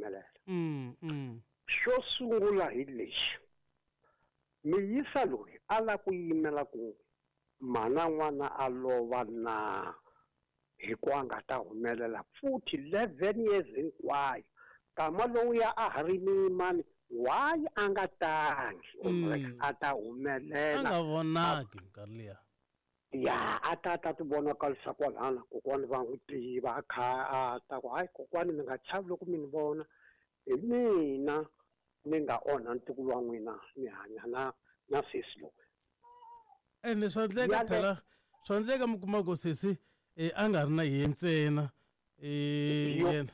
humelela. Xo sungula hi lexi, miyisa loyi a lava ku yimela ku mhana n'wana a lova na hi ku a nga ta humelela futhi 11 years hinkwayo, kama lowuya a ha ri miyimani, why a nga tangi a ta humelela? A nga vonaki minkarhi liya. Ya, a ta ta ti vonakarisa kwalana, kokwani va n'wi tiva, a kha a ta ku hayi kokwani, mi nga chavi loko mi ni vona, hi mina ni nga onha ntukulu wa n'wina, ni hanya na sesi loyi. Ende swa endleka phela, swa endleka mi kuma ku sesi a nga ri na yehe ntsena, yena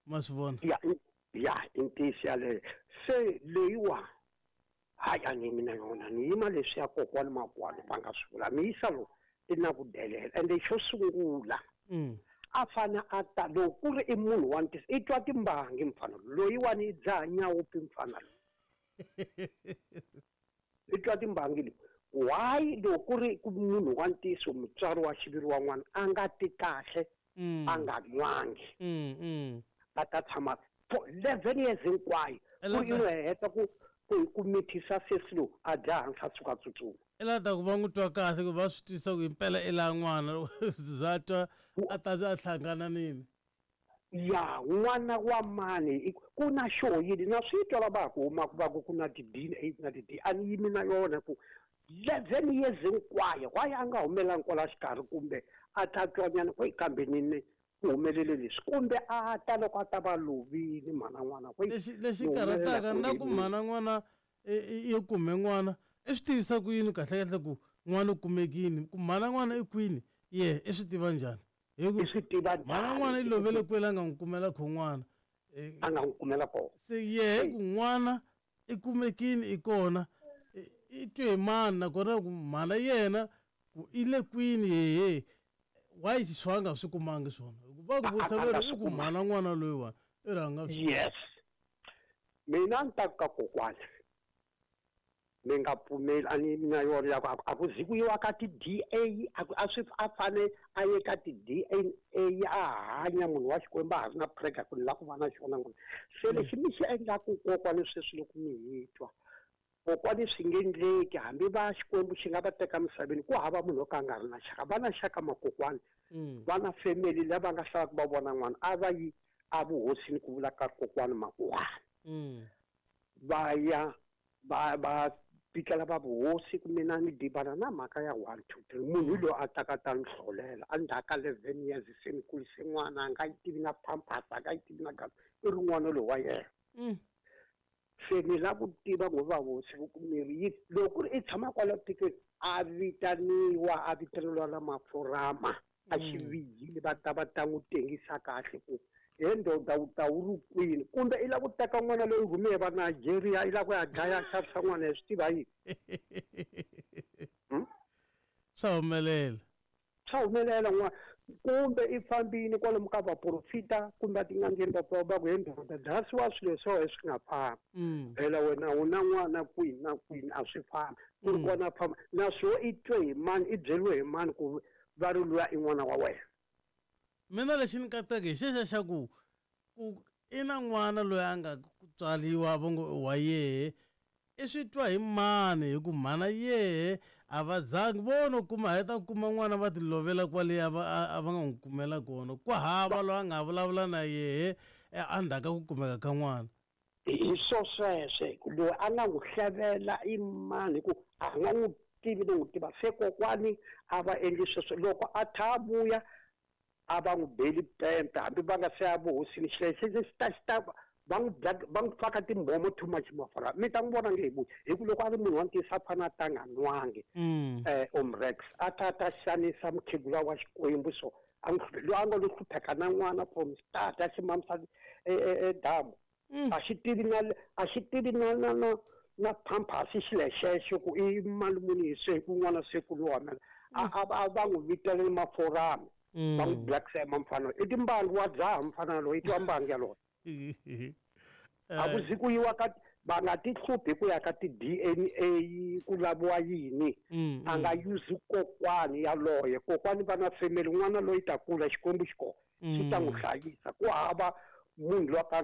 ma swi vona. Ya, ya, i ntiyiso yaleyo. Se leyiwa hayi, a ni yimi na yona, ni yima leswiya kokwani makwani va nga swi vula. Miyisa lowu i na ku delela, ende xo sungula a fane a ta, loko ku ri i munhu wa ntiyiso, i twa timbangi mfana loyiwani, i dzaha nyawupi mfana loyi, i twa timbangi loyi. Why loko ku ri ku munhu wa ntiyiso, mutswari wa xiviri wa n'wana, a nga ti kahle, a nga nwangi, a ta tshama for 11 years hinkwayo, ku ri i n'wi heta ku mithisa sesi lowu, a dya hansi, a suka a tsutsuma? I la ta ku va n'wi twa kahle, ku va swi twisisa ku himpela i la n'wana, loko za twa a ta a hlangana nini. Ya, n'wana wa mani, ku na xo yini na swi twa lava ha ku humaka va ku ku na ti-DNA na ti-D, a ni yimi na yona ku 11 years hinkwayo why a nga humelangi kwala xikarhi, kumbe a ta twanyana ku kambe ni ku humelele leswi, kumbe a ta loko a ta va lovile mhana n'wana. Lexi karhataka na ku mhana n'wana i kume n'wana, i swi tivisa ku yini kahle kahle ku n'wana u kumekini, ku mhana n'wana i kwini, ye i swi tiva njhani? Hi ku I swi tiva mhana n'wana i lovele kwele a nga n'wi kumela kho n'wana. A nga n'wi kumela kona. Se yehe ku n'wana i kumekini, i kona, i twe hi mani, nakona ku mhana yena ku i le kwini yehe, why swi a nga swi kumangi swona? Hikuva ku vutisa A nga veri swi i ku kumangi. Mhana n'wana loyiwani i ri a nga swi. Yes, mina ni ta ku ka kokwani, mi nga pfumeli, a ni na yona ya ku a ku zi ku yiwa ka ti-DA, a ku a swi a fane a ye ka ti-DNA, a hanya munhu wa Xikwembu, a ha ri na prega ku ni lava ku va na xona n'wana. Se lexi mi xi endlaku kokwani sweswi, loko mi hi twa kokwani, swi nge endleki, hambi va Xikwembu xi nga va teka misaveni, ku hava munhu wo ka a nga ri na xaka. Va na xaka makokwani, va na family lava nga hlalaka va vona n'wana, a va yi a vuhosini ku vula ka kokwani makuwani, va ya va pikela va vuhosi ku mina ni dibana na mhaka ya 1 2 3, munhu loyi a taka ta ni hlolela endzhaku ka 11 years, se ni kurise n'wana, a nga yi tivi na pampers, a nga yi tivi na gasi, i ri n'wana loyi wa yena. Se ni lava ku tiva ngo va hosi ku miri yi loko ku ri i tshama kwala tikweni, a vitaniwa, a vitaneliwa la mafurama a xivijini, va ta va ta n'wi tengisa kahle ku he ndoda, u ta wu ri kwini, kumbe i lava ku teka n'wana loyi rhume va Nigeria, i lava ku ya dlaya, xavisa n'wana, hi swi tiva yini? Swa humelela. Swa humelela n'wana, kumbe i fambini kwalomu ka vaprofita kumbe a tin'angeni, va va ku he ndoda, dlasiwa swilo swa wena swi nga fambi. Phela wena u na n'wana kwini na kwini, a swi fambi ku ri kona famba naswo, i twe hi mani, i byeriwe hi mani ku va ri luya i n'wana wa wena? Mina lexi ni kateke hi xexa xa ku i na n'wana loyi a nga ku tswariwa, va ngo i wa yehe, i swi twa hi mani? Hi ku mhana yehe a va zangi vo no kuma, heta ku kuma n'wana va ti lovela kwale a va a va nga n'wi kumela kona, ku hava loyi a nga vulavula na yehe endzhaku ka ku kumeka ka n'wana. Hi swo sweswe, loyi a nga n'wi hlevela i mani, hi ku a nga n'wi tivi no n'wi tiva? Se kokwani a va endli sweswo, loko a tha a vuya, a va n'wi beli pempe, hambi va nga se ya vuhosini, xilexi xi ta xi ta va n'wi va n'wi faka timbhomo too much mafurha, mi ta n'wi vona nge hi vuyi, hi ku loko a ri munhu wa ntiyiso, a fane a ta nga nwangi. Omrex a ta ta xanisa mukhegula wa Xikwembu, so a n'wi loyi a nga lo hlupheka na n'wana from start, a xi mamisa edamu, a xi tivi na a xi tivi na pampers, xilexexo ku i mali muni, hi se ku n'wana se ku lowa mina a va n'wi vitelele maforami, va n'wi blacksema mfana, i timbangi, wa dzaha mfana loyi, i twa mbangi yaloyo. A ku zi ku yiwa ka, va nga ti hluphi ku ya ka ti-DNA ku laviwa yini. A nga use kokwani yaloye, kokwani va na family, n'wana loyi ta kula, Xikwembu xi kona, xi ta n'wi hlayisa, ku hava munhu loyi a ka